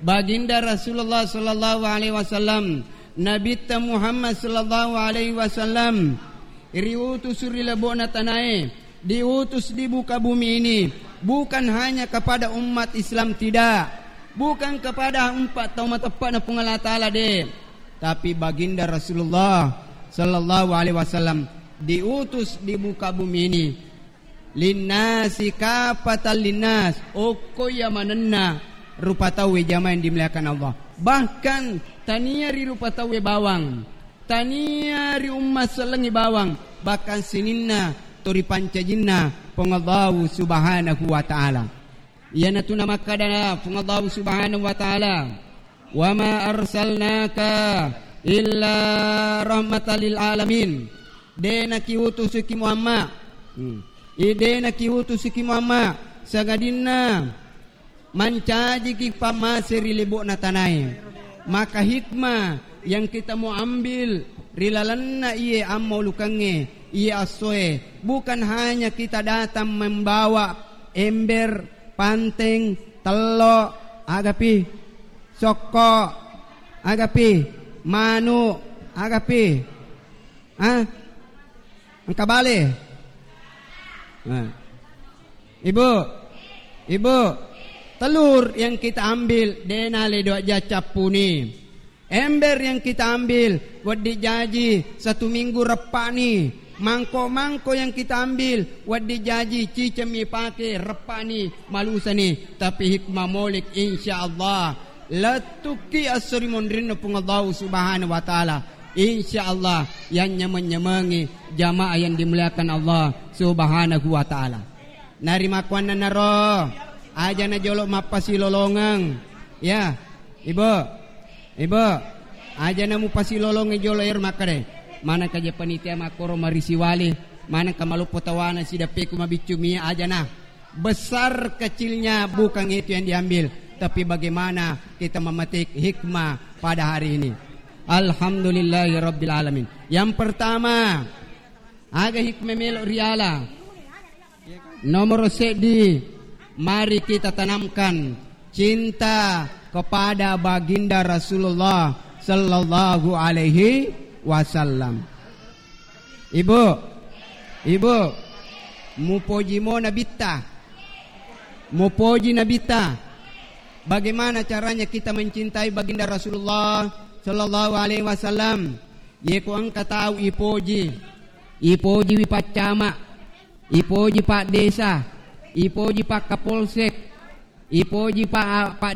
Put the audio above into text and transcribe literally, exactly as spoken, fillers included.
Baginda Rasulullah sallallahu alaihi wasallam, Nabitta Muhammad sallallahu alaihi wasallam, riutus ri lebo'na tanae, diutus di buka bumi ini, bukan hanya kepada umat Islam, tidak, bukan kepada empat tau mateppa'na Puang Allah Ta'ala, de, tapi Baginda Rasulullah sallallahu alaihi wasallam diutus di buka bumi ini linnasi kafatan linnas, okko iya manenna rupa tauwe jamaah yang dimuliakan Allah. Bahkan tania ri rupa tauwe bawang, tania ri umma sellengngi bawang, bahkan sininna to ripancajinna Puang Allahu Subhanahu wa Ta'ala. Iyanatu namakkada Puang Allahu Subhanahu wa Ta'ala, "Wa ma arsalnaka illa rahmatan lil alamin." De nakiutusuki Muhammad. Hmm. I de nakiutusuki Muhammad, sangadinna mancajiki pammase ri lebo'na tanae. Maka hikmah yang kita mau ambil ri lalenna iye ammaulukengnge, iye assoe, bukan hanya kita datang membawa ember, panteng, tello, agapi, sokko, agapi, manu, agapi. Ah? Engka bale? Nah. Ibu, ibu, telur yang kita ambil, dena le dua ja cappuni. Ember yang kita ambil, wedding jaji satu minggu reppani. Mangko-mangko yang kita ambil, wedding jaji cicemmi pake reppani, malusani. Tapi hikmah molek, insya Allah, lettukki esso ri monrinna Puang Allahu Subhanahu wa Ta'ala. Insya Allah, yang nyameng-nyamengi jamaah yang dimuliakan Allah Subhanahu wa Ta'ala. Narimakkuannanaro, aja na jolo mappasilolongeng. Ya, Ibu, Ibu, aja na mupasilolongi jolo ero makkeda, manengka je panitia makkoro marisi wali, manengka maloppo tawana sidappeku mabiccu mie, aja na. Besar kecilnya bukan itu yang diambil, tapi bagaimana kita memetik hikmah pada hari ini. Alhamdulillahirabbil alamin. Yang pertama, aga hikmah melo riala. Nomor seddi, mari kita tanamkan cinta kepada Baginda Rasulullah sallallahu alaihi wasallam. Ibu, Ibu, mupoji mo Nabitta. Mupoji Nabitta. Bagaimana caranya kita mencintai Baginda Rasulullah sallallahu alaihi wasallam? Yeko engka tau ipoji, ipoji wi paccama, ipoji pak desa, ipoji pak kapolsek, ipoji pak, pak